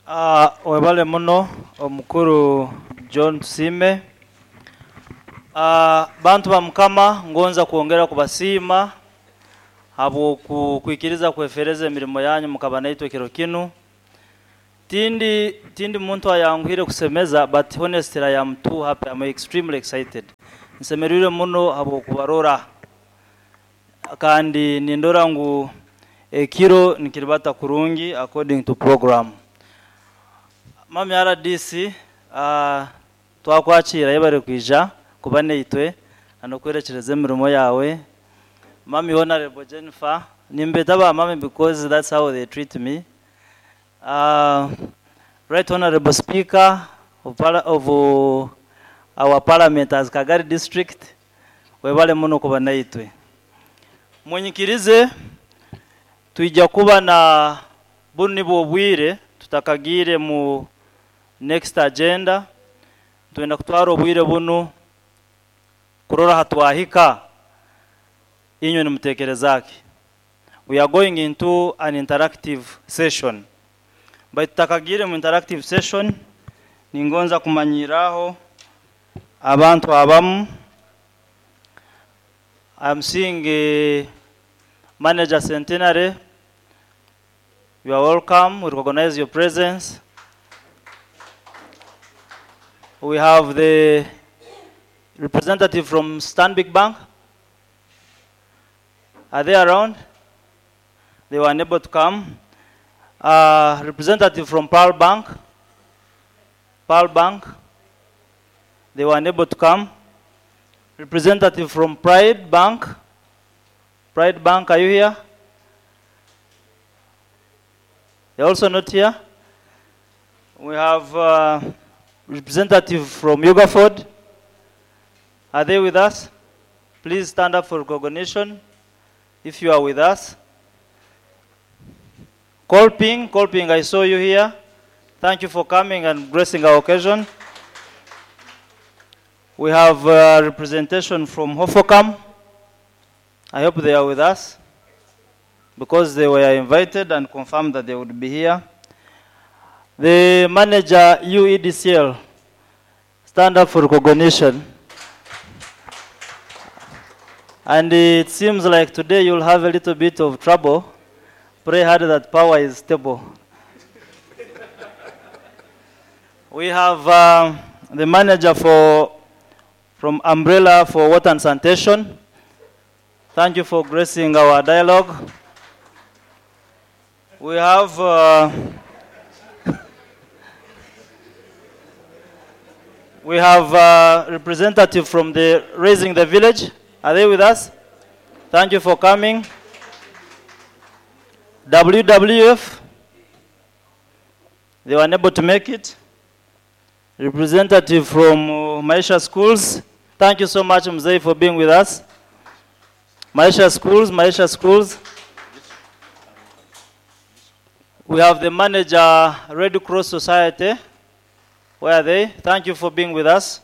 Webale muno omukuru John Tusiime. Bantu ba Mukama, ngonza kwongera kubasiima habw'okwikiriza kwefereza emirimo yanyu mukaba naitwe kiro kinu. Tindi muntu ayanguhire kusemeza, but honestly I am too happy. I'm extremely excited. Nsemerire muno habw'okubarora, kandi nindora ngu ekiro nikiribata kurungi according to program. Mami RDC, twakwakira, yebare kwija kuba naitwe n'okwerekereza emirimo yawe. Mami Honorable Jennifer, nimbeta ba mami because that's how they treat me. Right Honorable Speaker of our Parliament as Kagari District, webale muno kuba naitwe. Munyikirize twija kuba na bunu nibwo obwire tutakagiire mu next agenda. Twenda kutwara obwire bunu kurora hatwahika, inywe nimutekerezaki. We are going into an interactive session. Baitu tutakagiire mu interactive session, ningonza kumanyiraho abantu abamu. I'm seeing Manager Centenary. You are welcome. We recognize your presence. We have the representative from Stanbic Bank. Are they around? They were unable to come. Representative from Pearl Bank. Pearl Bank. They were unable to come. Representative from Pride Bank. Pride Bank, are you here? They're also not here. We have representative from Ugaford. Are they with us? Please stand up for recognition if you are with us. Kolping, Kolping, I saw you here. Thank you for coming and gracing our occasion. We have a representation from Hofocam. I hope they are with us because they were invited and confirmed that they would be here. The manager, UEDCL, stand up for recognition. And it seems like today you'll have a little bit of trouble. Pray hard that power is stable. We have the manager from Umbrella for Water and Sanitation. Thank you for gracing our dialogue. We have a representative from the Raising the Village. Are they with us? Thank you for coming. WWF, they were unable to make it. Representative from Maisha Schools. Thank you so much, Mzee, for being with us. Maisha Schools, Maisha Schools. We have the manager, Red Cross Society. Where are they? Thank you for being with us.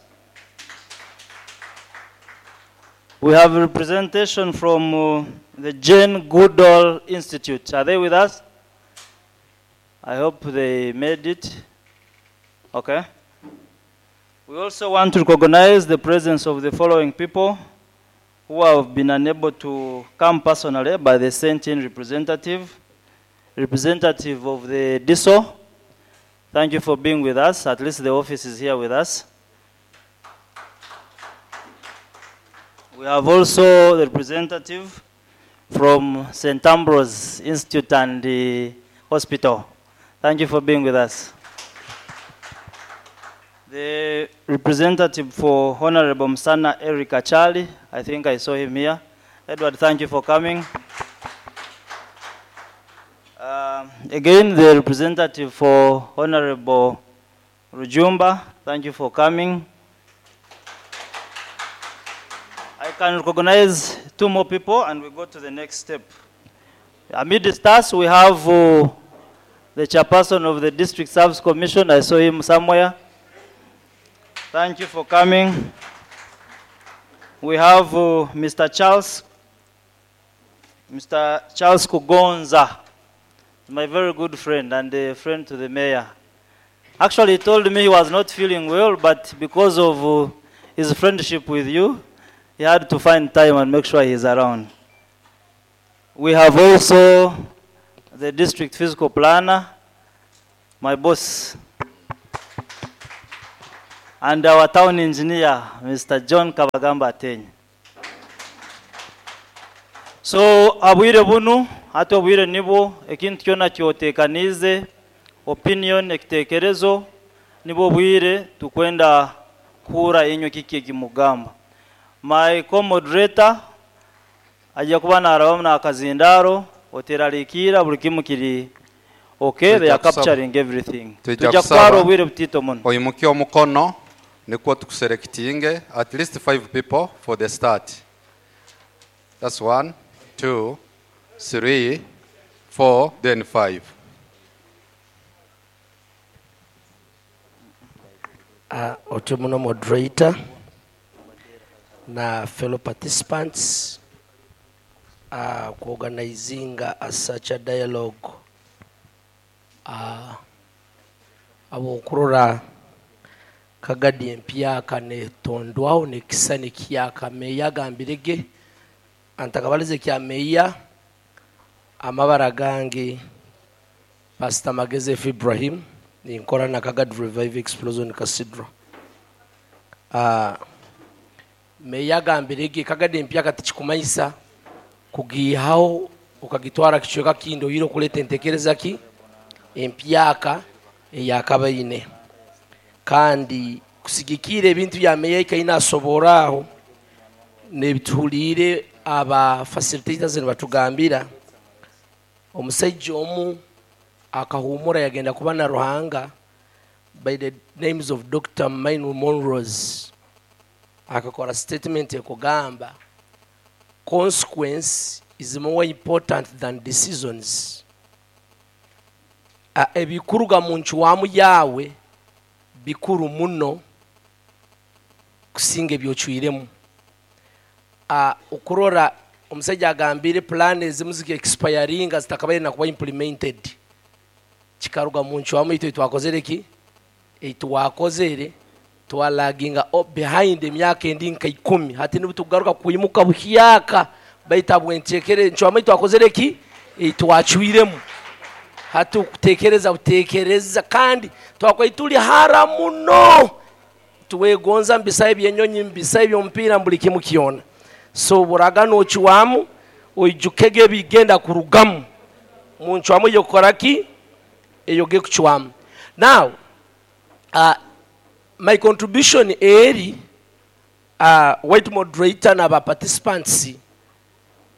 We have a representation from the Jane Goodall Institute. Are they with us? I hope they made it. Okay. We also want to recognize the presence of the following people who have been unable to come personally by the sent in representative. Representative of the DISO. Thank you for being with us. At least the office is here with us. We have also the representative from St. Ambrose Institute and the hospital. Thank you for being with us. The representative for Honorable Msana Eric Achali, I think I saw him here. Edward, thank you for coming. Again, the representative for Honorable Rujumba, thank you for coming. I can recognize two more people and we go to the next step. Amidst us, we have the chairperson of the District Service Commission. I saw him somewhere. Thank you for coming. We have Mr. Charles Kugonza, my very good friend and a friend to the mayor. Actually, he told me he was not feeling well, but because of his friendship with you, he had to find time and make sure he's around. We have also the district physical planner, my boss, and our town engineer, Mr. John Kabagamba Ateny. So abwire bunu hati obwire nibwo ekintu kyona kyotekanize opinion, ekitekerezo, nibwo bwire tukwenda kuhura inywe kiki ekimugamba. My co-moderator ajja kuba narabamu n'akazindaro, oteraliikira, buli kimu kiri okay, they are capturing everything. Tujja tujja kusaba. Kutwara obwire butito muno. Oyimuke omukono nikwo tukuselectinge at least five people for the start. That's one, two, three, four, then five. Otomuno moderator na fellow participants kuorganizinga such a dialogue abokurora Kagadi empyaka netondwaho nekisa nekyaka. Meya agambirege antakabalize kya meya. Amabara gange Pastor Mageze F. Ibrahim, ninkora na Kagadi Revive Explosion Cathedral. Meya agambirege Kagadi empyaka tikikumanyisa kugihaho ukagitwara kicweka kindi, oyire okuleta entekereza ki empyaka eyakabaine. Kandi kusigikira ebintu bya meya ikaina asoboraho nebituhuliire aba facilitators nibatugambira, omusajja omu akahumura yagenda kuba na Ruhanga by the names of Dr. Myles Munroe, akakora statement ekugamba, "Consequence is more important than decisions." Ebikuruga mu ncwamu yawe bikuru muno kusinga ebyocwiremu. Okurora omusajja agambire plan ezimu ziki expiringa zitakabaire nakuba implemented, kikaruga mu ncwamu itwe twakozere ki eitwakozere, twalaginga behind emyaka endi nka 10. Hati nibutugaruka kwimuka buhyaka baita bwentekere ncwamu itwakozere ki eitwacwiremu. Hati okutekereza butekereza kandi twakwai tuli hara muno, tuwegonza mbisa ebyenyonyi, mbisa ebyomupiira, buli kimu kyona. So buraga nocwamu oijukege ebigenda kurugamu mu ncwamu eyokukora ki eyo gekucwamu. Now my contribution eri white moderator n'aba participants,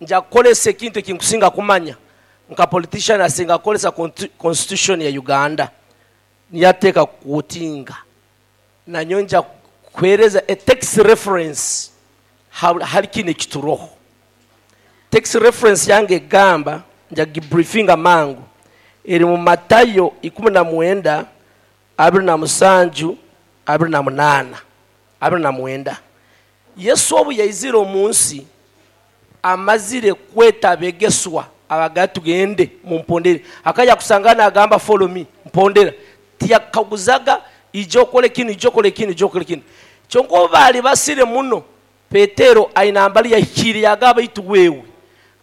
nja kukolesa ekintu ekinkusinga kumanya nka politician, asinga kukolesa constitution ya Uganda niyateeka kutinga nanyo nja kuhereza a text reference hali kino ekituroho. Text reference yange egamba, nja gibriefinga mangu, eri mu Matayo 19 27 28 29. Yesu obu yaizire omu nsi amazire kweta abegeswa abaga tugende mumpondere, akajya kusangana agamba, "Follow me," mpondera. Tiyakaguzaga ijja okole kino, ijja okole kino, ijja okole kino. Kyonka obu baali basire muno, Petero aina mbali yahikire yagaba, "Itu wewe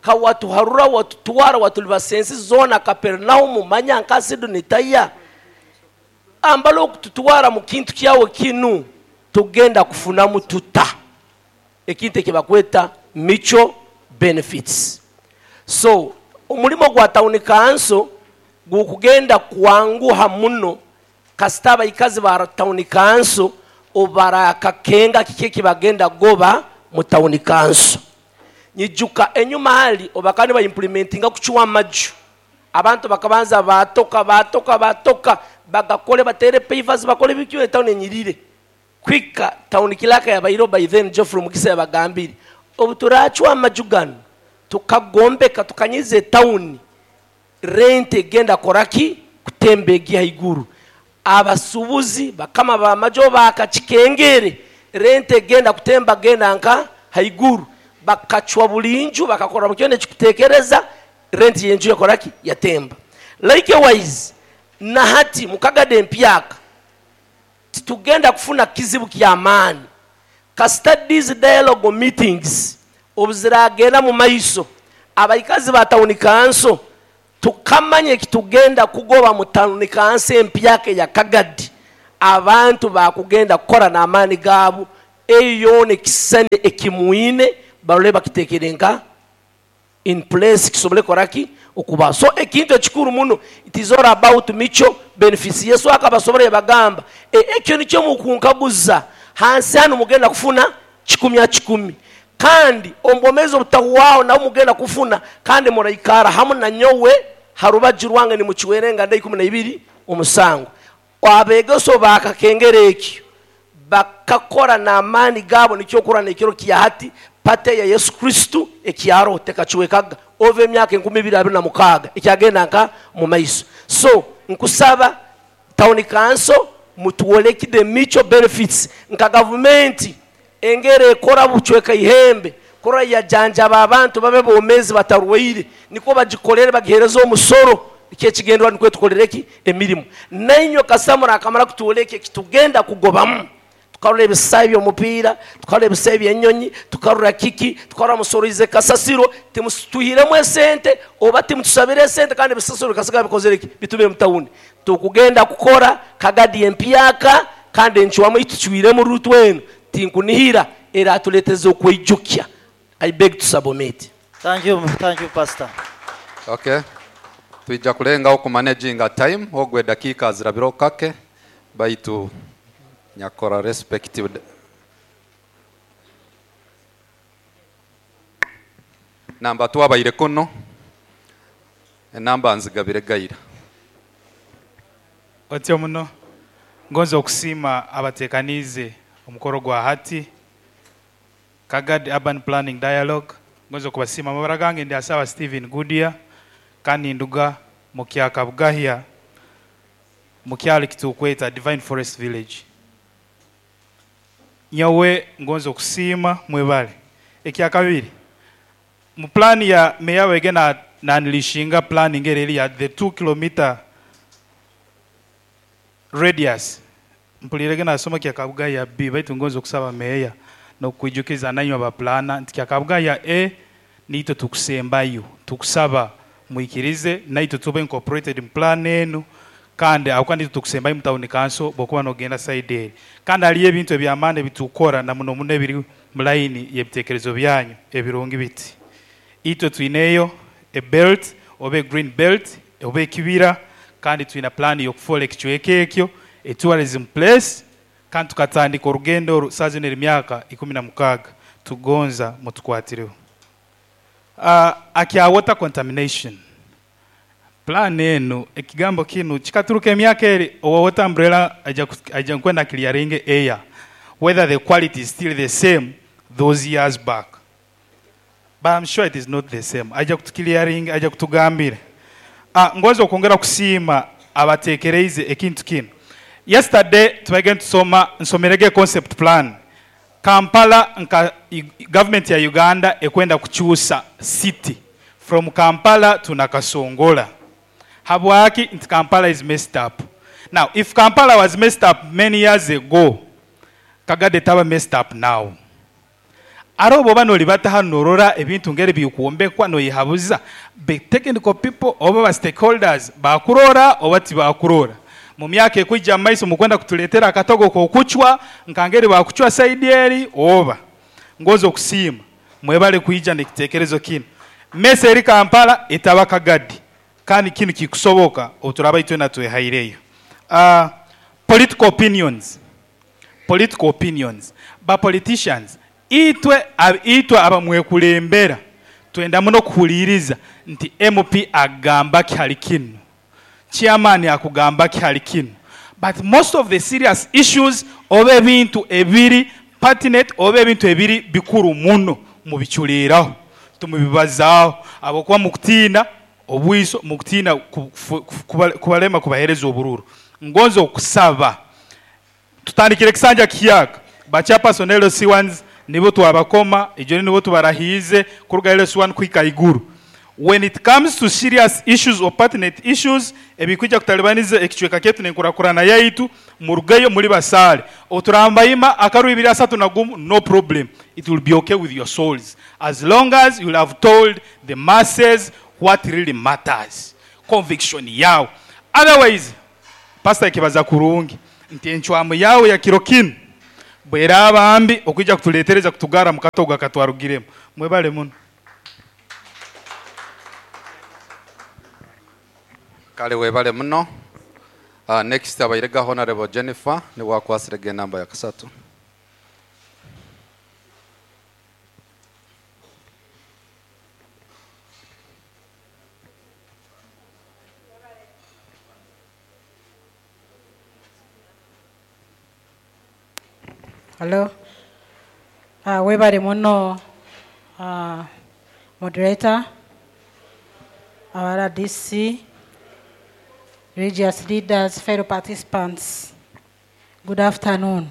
kawatuharura watutwara watulibasa ensi zona, Kapernaumu manya nka Sidoni taya ambala okututwara mu kintu kyawe kinu, tugenda kufunamu tuta?" Ekintu ekibakweta mutual benefits. So omulimo gwa town council gukugenda kwanguha muno kasita abaikazi ba town council obarakakenga kiki ekibagenda goba mu town council. Nyijuka enyuma hali obakani baimplementinga kucuwa amaju, abantu bakabanza batoka batoka batoka bagakole batere pavers bakole bikyo town enyirire kwika. Town clerk yabairo by then Geoffrey Mukisa yabagambire, obu turacwa amaju gano tukagombeka tukanyiza town, rent egenda koraki kutemba egi haiguru. Abasubuzi bakama bamajo bakakikengere, rent egenda kutemba genda nka haiguru. Bakacwa bulinju bakakora bukyone kikutekereza rent yenju yakoraki yatemba. Likewise na hati mukagade empyaka. Titugenda kufuna kizibu ky'amaani. Kasita these dialogue meetings obuziragenda mu maiso, abaikazi ba town council tukamanye kitugenda kugoba mu town council empyaka ya Kagadi. Abantu bakugenda kukora n'amaani gaabo, eyo yoona ekisane ekimwine barole bakitekere nka in place kisobole koraki okuba. So ekintu ekikuru muno, it is all about mutual benefits. Yesu akabasobora yabagamba, ekyo nikyo mukunkaguza hansi hano mugenda kufuna kikumi a kikumi, kandi ombomezi obutahuwaho nawe mugenda kufuna, kandi muraikara hamu na nyowe harubaju rwange nimukiwerenga nda ikumi na ibiri omusango. Abegeso bakakengera ekyo bakakora n'amaani gaabo, nikyo okura n'ekiro kya hati pate ya Yesu Kristo ekyaro tekakiwekaga ova emyaka enkumi ibiri abiri na mukaaga ekyagenda nka mu maiso. So nkusaba town council mutuwoleki the mutual benefits nka gavumenti engere ekora bucweka ihembe kora yajanjaba abantu babe bomezi batarwaire, niko bagikorere bagihereza omusoro ekyekigendwa nikwe tukorereki emirimu. Nainyo kasamura akamara kutuwoleki kitugenda kugobamu. Tukarora ebisayi by'omupiira, tukarora ebisayi by'ennyonyi, tukarora kiki, tukarora musorize kasasiro, timutuhiremu esente oba timutusabire esente, kandi ebisasiro bikasiga bikozere ki bitubire mu tawuni. Tukugenda kukora Kagadi empyaka kandi enchwamu ituchwiremu rutwenu tinkunihira era atuleteze okwijukya. I beg to submit. Thank you, thank you pastor. Okay. Tuija kulenga oku managing time ogwe dakika zirabiro kake baitu nyakora respective namba twabaire kuno enamba nzigabire gaira. Otyo muno ngonze okusiima abatekanize omukoro gwa hati Kagadi Urban Planning Dialogue. Ngonze okubasiima amabara gange ndi asaba Stephen Goodyear kandi nduga mu Kyakabugahya mu kyalo kitukweta Divine Forest Village. Nyowe ngonze okusiima mwebale. Ekyakabiri mu plan ya meya wege na nanilishinga planning eri ya the 2 kilometer radius. Mpulirege nasoma Kyakabugahya B baitu ngonze okusaba meya nokwijukiza nanywa ba plana nti Kyakabugahya A nito tukusembayo tukusaba muikirize naito tube incorporated in plan enu kandi aho kandi tukusembayo mu town council bokuba nogenda side eri kandi ali ebintu ebyamande bitukora na muno muno ebiri mu line y'ebitekerezo byanyu ebirungi biti itwe twineyo a belt oba a green belt oba ekibira kandi twina plan y'okufola ekicweka ekyo a tourism place kandi tukatandika orugendo oru saa zino emyaka 16 tugonza mutukwatireho. Akya water contamination plan eno ekigambo kinu kikaturuka emyaka eri owa water umbrella aja nkwenda clearing air whether the quality is still the same those years back, but I'm sure it is not the same. Aja kutuclearing aja kutugambira. Ngoza okwongera kusiima abatekereize ekintu kino. Yesterday tubagenda tusoma nsomerege concept plan Kampala nka government ya Uganda ekwenda kuchusa city from Kampala to Nakasongola. Habwaki nti Kampala is messed up. Now if Kampala was messed up many years ago, Kagadi taba messed up now. Arobo bano libata hano norora ebintu ngere bikuombekwa no yihabuza be technical people oba ba stakeholders bakurora oba tibakurora. Mu myaka ekwijja maiso mukwenda kutuletera akatogo kokuchwa nkangeri bakuchwa side eri oba ngozo okusiima mwebale kuija nekitekerezo kino. Mese eri Kampala etaba Kagadi kandi kino kikusoboka oturaba itwe natwehaireyo. Political opinions. Political opinions. Ba politicians itwe abamwekulembera twenda muno kuhuliriza nti MP agamba ki kino, chairman akugamba ki kino, but most of the serious issues oba ebintu ebiri pertinent oba ebintu ebiri bikuru muno mubichuliraho tumubibazaaho abokuba mukutiina obwiso mukutiina kubalema kubahereza obururu. Ngonzo okusaba tutandikire kisanja kiyaka ba chairperson LC1s nibo twabakoma ejo nibo tubarahize kuruga LC1 kwika iguru. When it comes to serious issues or pertinent issues ebikwija kutalibaniza ekicweka kyaitu n'enkurakurana yaitu, murugeyo muri basaale. Oturambayima akaru 231, no problem, it will be okay with your souls as long as you will have told the masses what really matters, conviction yawe. Otherwise, pastor ekibaza kurungi nti encwamu yawe ya kiro kinu bweraaba mbi okwija kutuletereza kutugara mu katogo akatwarugiremu. Mwebale muno. Kale, webale muno. Next abairega Honorable Jennifer niwe akwasirege enamba ya kasatu. Hello. Webale muno, moderator, our RDC, religious leaders, fellow participants. Good afternoon.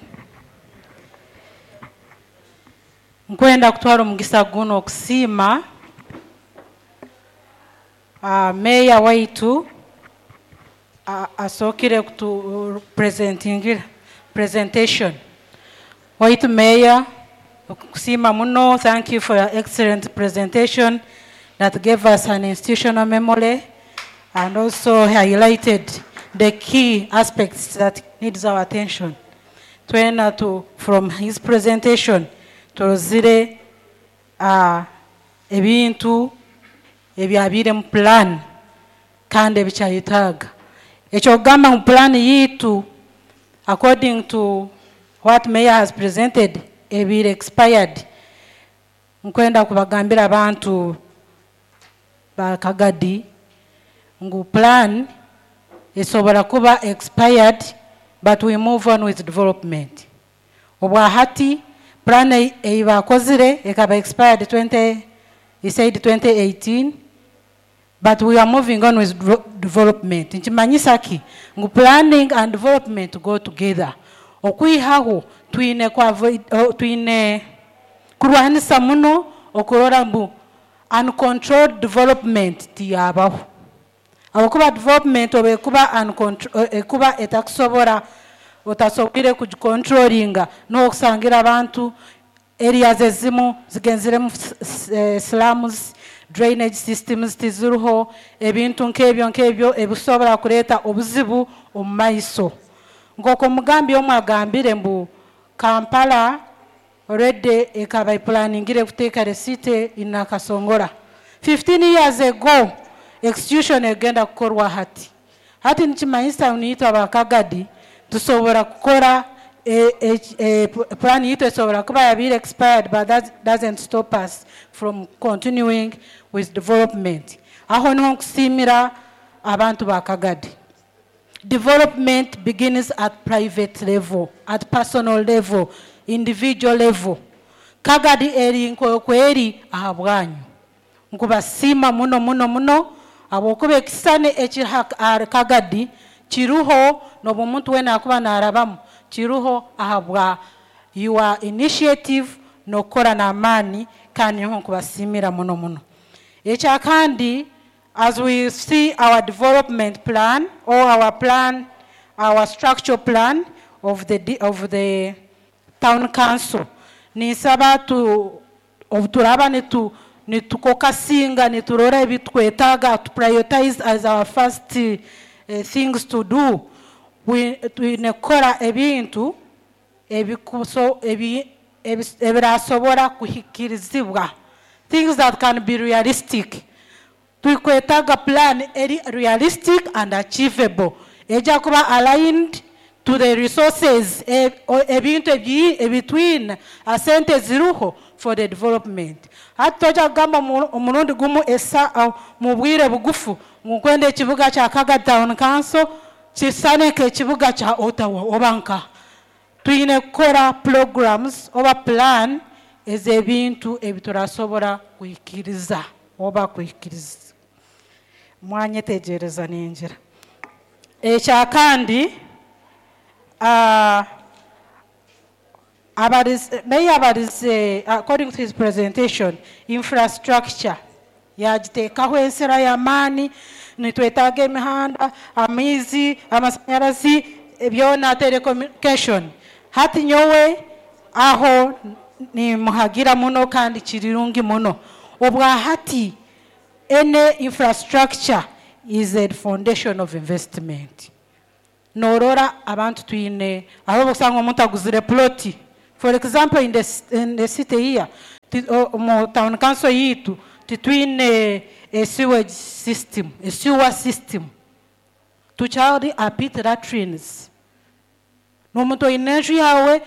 Nkwenda kutwara omugisa guno okusiima meya waitu asookire kutu presentingira presentation. Waitu meya, okusiima muno, thank you for your excellent presentation that gave us an institutional memory and also highlighted the key aspects that needs our attention. Twena to, from his presentation, turozire ebintu ebyabire mu plan kandi ebikyayetaaga. Ekyokugamba mu plan yitu, according to what mayor has presented, ebiri expired. Nkwenda kubagambira abantu ba Kagadi ngu plan esobola kuba expired, but we move on with development. Obwahati plan ei bakozire ekaba expired 20, he said 2018, but we are moving on with development. Nkimanyisa ki ngu planning and development go together. Okwihaho twine oh, twine kurwanisa muno okurora mbu uncontrolled development tiyabaho, ahabwokuba development oba ekuba ekuba etakusobora, otasobwire kugicontrollinga, n'okusangira abantu areas ezimu zigenziremu slums, drainage systems tiziriho, ebintu nk'ebyo nk'ebyo ebisobora kureeta obuzibu omu maiso. Nk'oko omugambi omwe agambire mbu Kampala already ekaba eplaningire kuteeka receipt in Nakasongola 15 years ago, execution egenda kukorwa hati. Hati nikimanyisa niitwe abakagadi tusobora kukora plan yitu esobora kuba yabiire expired, but that doesn't stop us from continuing with development. Aho niho nkusiimira abantu ba Kagadi. Development begins at private level, at personal level, individual level. Kagadi eri nkokweri aha bwanyu. Nkubasiima muno muno muno habwokuba ekisane ekiri aha Kagadi kiruho n'obu omuntu weena akuba naarabamu kiruho ahabwa your initiative n'okukora n'amaani, kandi niho nkubasiimira muno muno. Ekyakandi, as we see our development plan or our plan, our structural plan of the town council, ninsaba tu obu turaba nitufocusinga niturora ebitwetaaga to prioritize as our first things to do, twine kukora ebintu ebirasobora kuhikirizibwa, things that can be realistic. Tukwetaaga plan eri realistic and achievable, ejja kuba aligned to the resources, ebintu ebitwine, asente ziruho for the development. Hati tojja kugamba omurundi gumu esa mu bwire bugufu ngu nkwenda ekibuga kya Kagadi Town Council kisane nk'ekibuga kya Ottawa oba nka. Twine kukora programs oba plan ez'ebintu ebiturasobora kuhikiriza oba kuhikiriza. Mwanyetegereza ningira. Ekyakandi, Mayor abarize, according to his presentation, infrastructure. Yagiteekaho ensera y'amaani, nitwetaaga emihanda, amaizi, amasanyarazi, byona, telecommunication. Hati nyowe aho nimuhagira muno kandi kirirungi muno. Obwa hati any infrastructure is a foundation of investment. Norora abantu twine aho osanga omuntu aguzire ploti. For example, in the city here, mu town council yitu, titwine a sewage system, a sewer system. Tukyali a pit latrines. N'omuntu oyina enju yawe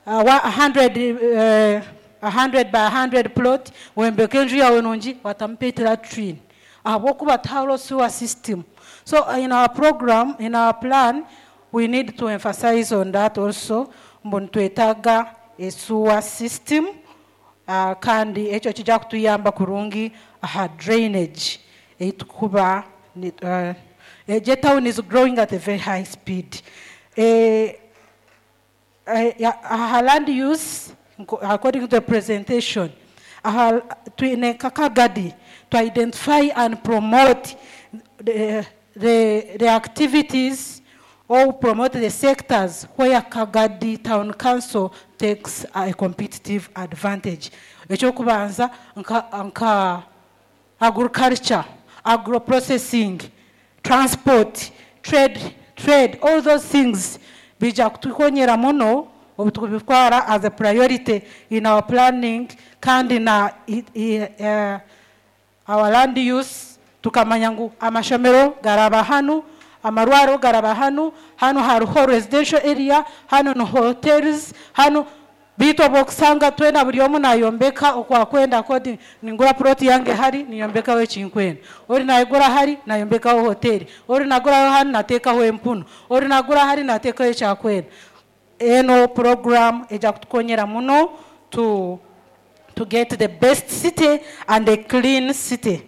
100 by 100 plot, wembeka enju yawe nungi, watamu pit latrine ahabwokuba tihariho sewer system. So in our program, in our plan, we need to emphasize on that also, mbu nitwetaaga a sewer system, kandi ekyo kijja kutuyamba kurungi aha drainage eitukuba. Egyo town is growing at a very high speed. Aha land use, according to the presentation, aha twine Kakagadi to identify and promote the activities or promote the sectors where Kagadi Town Council takes a competitive advantage. Ekyokubanza nka agriculture, agro-processing, transport, trade, all those things bija kutukonyera muno obu tukubitwara as a priority in our planning, kandi na our land use, tukamanya ngu amashomero garaba hanu, amarwaro garaba hanu, hanu hariho residential area, hanu ni hotels, hanu. Bitu obwokusanga twena buri omu nayombeka okwakwenda kodi, ningura plot yange hari niyombekaho ekinkwenda, ori nayigura hari nayombekaho hoteli, ori naguraho hanu nateekaho empunu, ori nagura hari nateekaho ekyakwenda. Eno program ejja kutukonyera muno to get the best city and a clean city.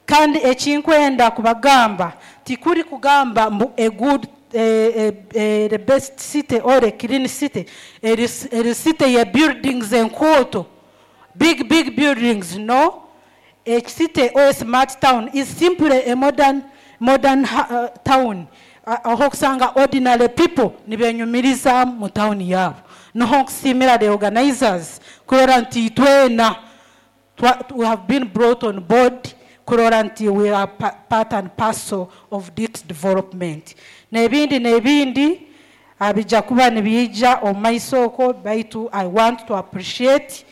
Kandi ekinkwenda kubagamba, tikuri kugamba mbu a good the best city or a clean city eri city ya buildings enkooto, big big buildings. No, a city or a smart town is simply a modern town aho kusanga ordinary people nibenyumiriza mu town yabo. Niho nkusiimira the organizers kurora nti twena we have been brought on board kurora nti we are part and parcel of this development. N'ebindi bijja kuba nibiija omu maiso okwo, baitu I want to appreciate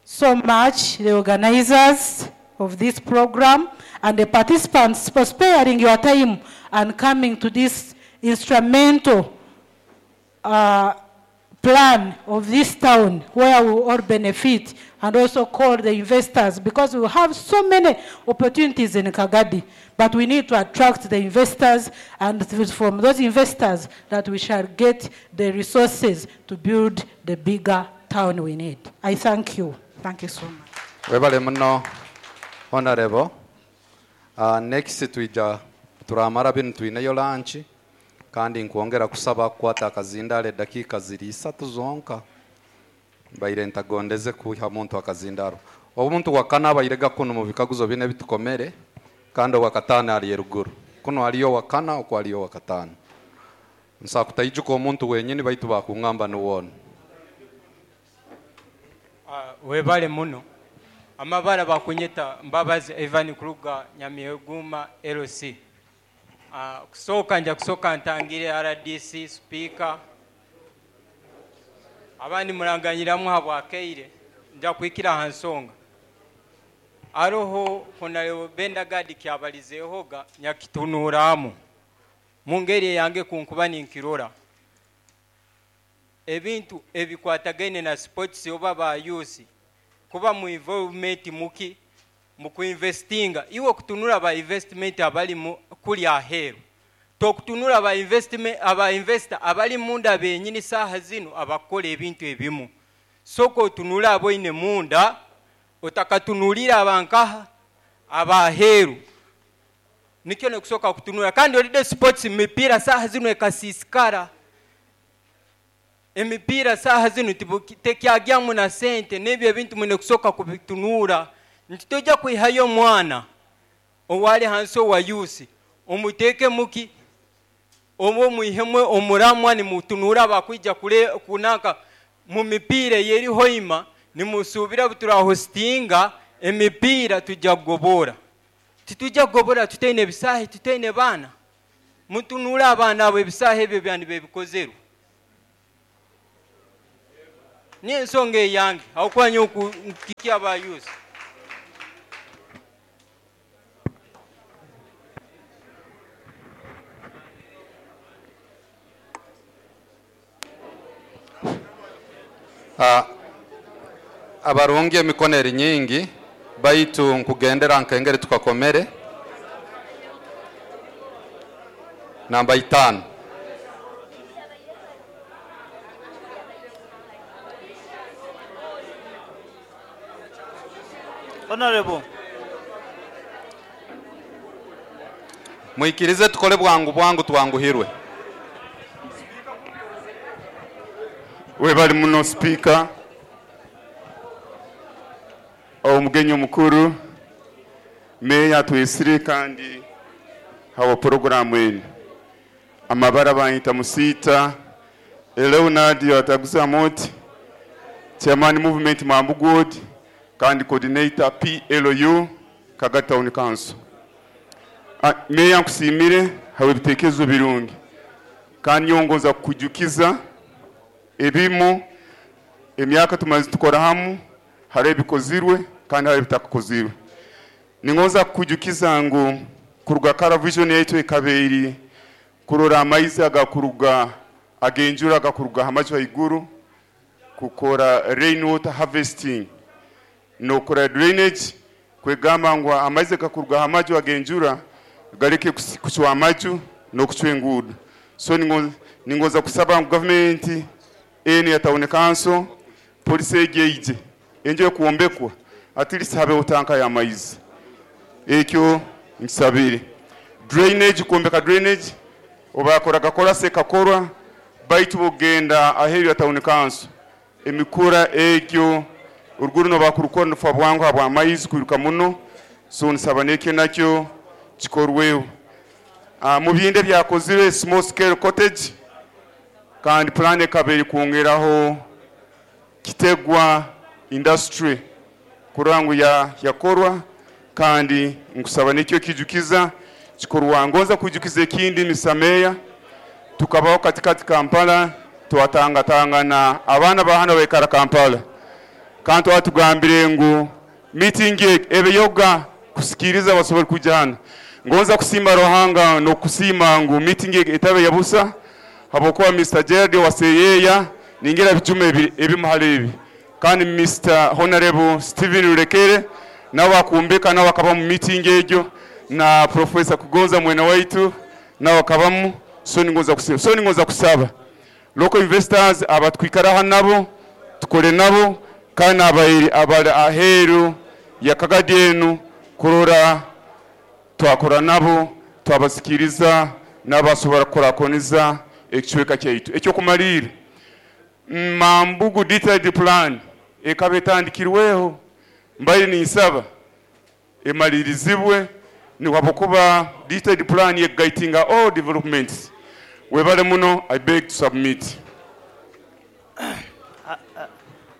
so much the organizers of this program and the participants for sparing your time and coming to this instrumental plan of this town where we all benefit, and also call the investors, because we have so many opportunities in Kagadi, but we need to attract the investors, and it is from those investors that we shall get the resources to build the bigger town we need. I thank you. Thank you so much. Webale muno, honorable. Next twija turamara binu, twineyo lunch, kandi nkwongera kusaba kukwata akazindalo eddakiika ziri isatu zonka. Mbaire ntagondeze kuha muntu akazindalo. Omuntu wakana abairega kuno mu bikaguzo bine bitukomere, kandi owakataano ali eruguru kuno, aliyo wakana okwo aliyo wakataano. Nsa kutaijuka omuntu wenyini, baitu bakungamba niwona. Ah, webale muno. Amabara bakunyeta Mbabazi Evan Kruger, Nyamyeguma LC. Ah, kusooka nja kusooka ntangire RDC, speaker, abandi muranganyiramu habwakeire, nja kuhikira ha nsonga. Aroho honorable Benda Gadi kyabalizeehoga nyakitunuramu mu ngeri eyange kunkuba ninkirora ebintu ebikwatagaine na sports oba ba youth kuba mu involvement muki mu kuinvestinga. Iwe okutunula ba investment abali mu kuli aheeru, tokutunula ba investment, aba investor abali munda benyini saaha zino abakola ebintu ebimu. Soka otunule aboine munda, otakatunulira abankaha abaheeru. Nikyo nekusooka kutunula. Kandi olide sports, mipiira saaha zino ekasiisikara. Emipiira saaha zino tekyagyamu na sente, n'ebyo ebintu mwine kusooka kubitunura. Nti tojja kwihayo omwana owali hansi owa yusi omuteeke muki oba omwihemu omuramwa, nimutunura abakwija kule kunaka mu mipiira eyeri hoima, nimusuubira buturahostinga emipiira tujja kugobora. Titujja kugobora tutaine ebisaahe, tutaine baana. Mutunule abaana abo, ebisaahe ebyo byandi bebikozerwe. Niyo ensonga eyange aho kiki aba youth. Abarungi emikono eri nyingi, baitu nkugendera nkengeri tukakomere. Namba 5. Honorable. Muikirize tukole bwangu bwangu twanguhirwe. Webali muno speaker. Omugenyi omukuru meya twesire kandi hawa programu eno. Amabara bayita Musita Leonard Yataguza Moti, Chairman Movement Mambugod kandi coordinator PLU Kagadi Town Council. Meya nkusimire hawe ebitekerezo birungi kandi nyongoza kukujukiza ebimu emyaka tumaze tukora hamu, hari ebikozirwe kandi hari ebitakozirwe. Ningoza kukujukiza ngu kuruga Kara Vision yetu ekabeiri kurora amaizi agakuruga agenjura agakuruga hamaju haiguru, kukora rainwater harvesting nokora drainage, kwegamba ngu amaizi agakuruga hamaju agenjura gareke kuchwa amaju nokuchwa enguudo. So ningoza kusaba ngu government eni ya town council polisi egeije enjo kuombekwa at least habeho tanka ya maizi. Ekyo nsabire drainage, kuombeka drainage obakora gakora sekakorwa baitu bogenda aheru ya town council emikura ekyo uruguru no bakurukora nfa bwangu habwa maizi kwiruka muno. So nsaba nekyo nakyo kikorweho. Mu binde byakozire small scale cottage kandi plan ekaberi kwongeraho kitegwa industry kurangu ya yakorwa kandi nkusaba nekyo kijukiza kikorwa. Ngonza kujukiza ekindi misameya tukabaho katikati Kampala twatangatangana abaana bahano bekara Kampala kandi twatugambire ngu meeting ebe yoga kusikiriza basobole kujana. Ngonza kusimba Rohanga no kusima ngu meeting etabe yabusa habokuwa Mr. Gerard waseyeya ningira bijume ebimuhale ebi kandi Mr. Honorable Steven Rurekere nawe akumbeka nawe akaba mu meeting egyo na Professor Kugonza mwena waitu nawe akabamu. So ningoza kusaba, so ningoza kusaba local investors abatwikara nabo tukore nabo kandi abayiri abali aheru ya Kagadi enu kurora twakora nabo twabasikiriza n'abasobora kurakoniza ekicweka kyaitu. Ekyo kumalira Mambugu detailed plan ekaba etandikirweho mbaire ninsaba emalirizibwe niwabokuba detailed plan yeguidinga all developments. Webale muno, I beg to submit.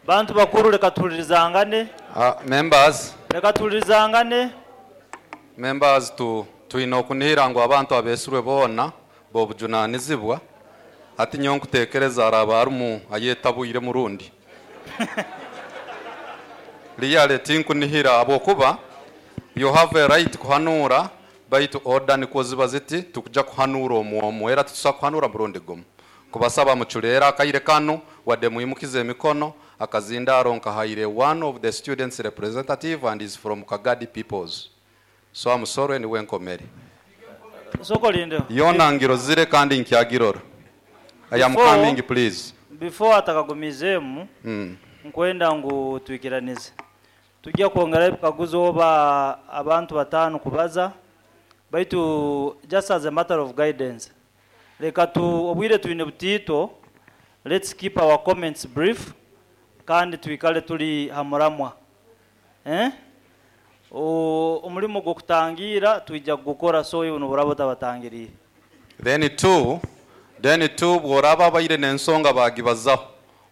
Bantu bakuru leka tulirizangane. Members. Leka tulirizangane. Members tuina okunihira ngu abantu abeesirwe boona bobujunanizibwa ati nyo nkutekereza araba arumu ayetabwire murundi. Liyale tinkunihira abokuba you have a right kuhanura baitu order niko ziba ziti tukuja kuhanura omwomo era tutusa kuhanura murundi gumu. Kubasaba muchulera akaire kano wadde muyimukize emikono akazindaro nkahaire one of the students representative and is from Kagadi peoples. So I'm sorry ni wenkomere. Soko linde. Yona ngiro zire kandi nkyagirora. I am coming please. Before atakagumizemu nkwenda ngu twikiranize. Tujya kwongera ebikaguzo oba abantu batano kubaza baitu just as a matter of guidance. Leka tu obwire twine butito, let's keep our comments brief kandi twikale tuli hamuramwa. Omulimo gw'okutangira twija kugukora, so iwe noburaba otabatangiriire. Then two bworaba abaire n'ensonga bagibazaho,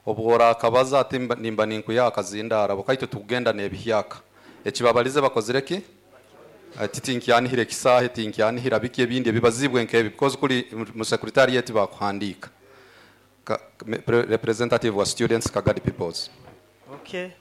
obworakabaza ati nimba ninkuya akazindara bukaitu tugenda n'ebihyaka ekibabalize bakozire ki, ati tinkyanihira ekisaahe, tinkyanihira biki ebindi ebibazibwe nkebi, because kuli mu secretariat bakuhandiika. Representative wa students, Kagadi Peoples. Okay.